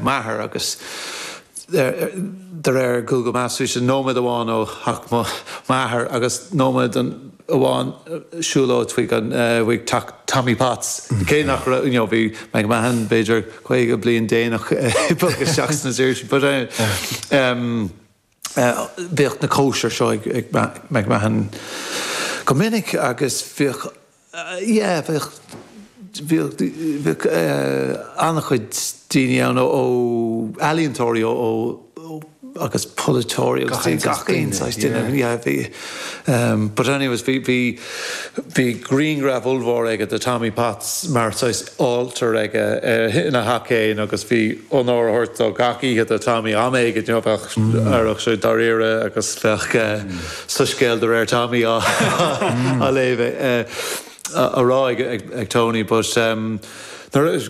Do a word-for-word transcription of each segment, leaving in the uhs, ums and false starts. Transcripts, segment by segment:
M'athair agus de réir Google Maps bhí sé nóiméad amháin ó theach m'athar agus nóiméad amháin siúlóid chuig an chuig teach Tommy Potts. Cé nach raibh you know, bhí McMahon b'fhéidir caoga bliain déanach isteach sna Saoirsí, but um, uh, bhíodh na cóisir seo ag, ag McMahon go minic agus bhíodh uh, yeah, bhíodh bhíodh bhíodh uh, an-chuid daoine ann ó ó ealaíontóirí ó ó ó agus polaiteoirí agus Gach aon gach aon saghas saghas duine, duine, yeah, bhí um, but anyways bhí bhí bhí grianghraf ollmhór aige de Tommy Potts mar saghas altar aige uh, ina theach féin agus bhí onóir á thabhairt dó gach oíche do Tommy am éigin you know, bheadh aireach sé dáiríre agus bheadh uh, soiscéal de réir Tommy á á léamh uh, a a rá ag, ag, ag Tony but um, nuair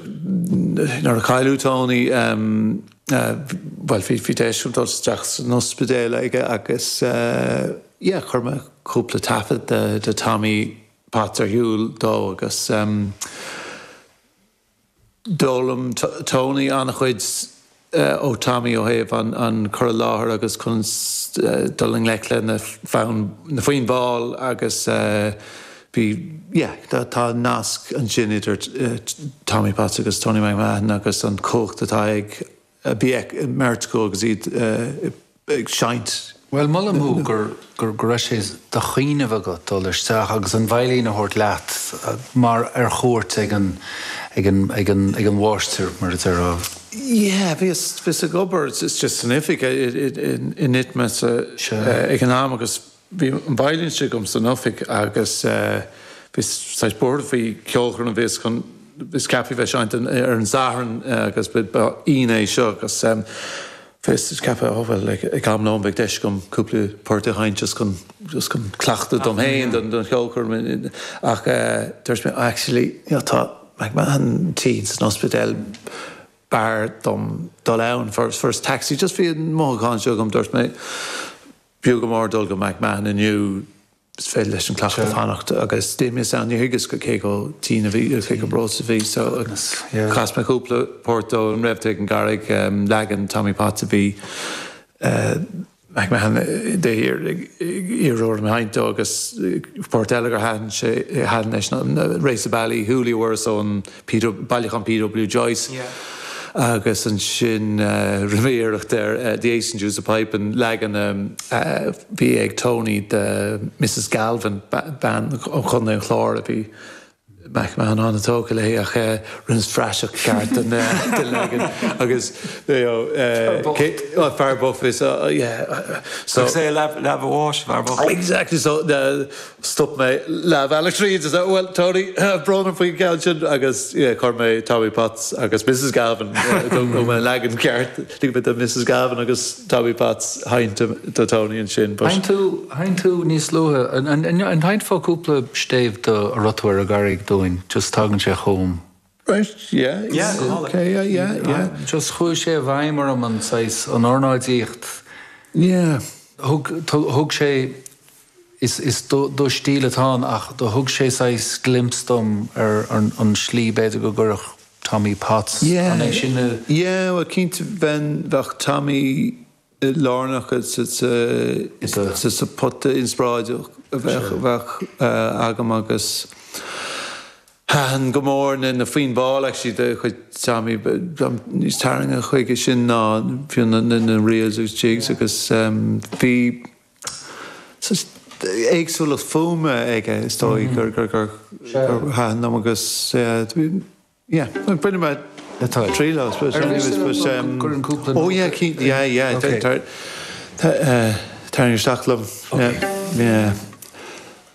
nuair a cailleadh Tony um, uh, well bhí bhí deis dul isteach san ospidéal aige agus uh, yeah, chuir mé cúpla taifead de, de Tommy Potts ar shiúl dó agus um, d'fhoghlaim Tony an-chuid uh, ó Tommy ó thaobh an, an cur i láthair agus chun uh, dul i ngleic le na fonn na foinn mhall agus uh, bhí yeah, tá, tá nasc ansin idir uh, Tommy Potts agus Tony McMahon agus an cumhacht atá ag uh, bí meirt go agus iad uh, ag seinnt. Well molaim thú gur gur go raibh sé de chuimhne agat dul isteach agus an veidhlín a thabhairt leat uh, mar ar chuairt ag an ag an ag an ag an mháistir mar a déarfá. Yeah, bhíos bhíos ag obair it's just san oifig in ITMA ag an am agus bhí an veidhlín sin agam san oifig agus bhí saghas buartha faoi ceolchoirm a bhíos chun bhíos ceaptha bheith seinnte ar an Satharn agus ba Aoine é seo agus bhíos ceaptha ó well ag am lóin beidh deis agam cúpla port a sheinnt just chun just chun cleachtadh dom féin don don cheolchoirm ach dúirt mé actually you know, tá McMahon tinn san ospidéal b'fhearr dom dul ann first first taxi just bhí an mothúchán seo agam dúirt mé b'fhiú go mór dul go McMahon inniu is féidir leis an cleachtadh fanacht agus d'imíos ann níor thuigeas go cé chomh tinn a bhí cé chomh breoite a bhí so agus yeah. chas mé cúpla port dó an raibh tú ag an gCarraig um, leagan Tommy Potts a bhí uh, McMahon de iarraidh orm a sheinnt dó agus port eile gur thaitin sé thaitin leis na Race of Ballyhooly were ón bailiúchán P.W. Joyce. Yeah. agus ansin uh, rinne mé iarracht ar uh, The Ace and Deuce of Pipe an leagan um, uh, bhí ag Tony de Mrs Galvin bean ó Chontae an Chláir a bhí McMahon an-tógtha léi ach uh, rinneas praiseach ceart den uh, den leagan agus you know, uh, cé- fear bocht is uh, yeah uh, so Agus é leath bháis fear bocht. Exactly so uh, stop mé leathbhealach tríd is well Tony brón faoin gceann sin agus yeah, chuir mé Tommy Potts agus Mrs Galvin uh, mé leagan ceart lig de Mrs Galvin agus Tommy Potts seinnt do Tony ansin but- Sheinn tú sheinn tú níos luaithe an an an seinnfeá cúpla stéibh de An Raibh Tú ar an gCarraig dúinn just tagann sé chugam. Right, yeah, Yeah, okay, yeah, yeah, yeah. Just chuaigh sé i bhfeidhm orm an saghas an ornáidíocht. Yeah. Thug thug sé is is do do stíl atá ann ach do thug sé saghas glimpse dom ar an an slí b'fhéidir go gcuirfeadh Tommy Potts Yeah. an é sin a- Yeah, well cinnte bheinn bheadh Tommy lárnach sa Is sa sa pota inspioráideach a bheadh bheadh uh, agam agus Thaitin go mór na na foinn mhall actually de chuid Tommy níos tarraingthe chuige sin ná fiú na na na reels agus jigs agus um, bhí éagsúlacht fuaime aige is dóigh gur gur gur gur thaitin liom agus uh, yeah, bhain mé Atá. trí lá Ar mhiste liom gur an cúpla Oh yeah, yeah, yeah, Okay. tar isteach liom. Yeah, yeah.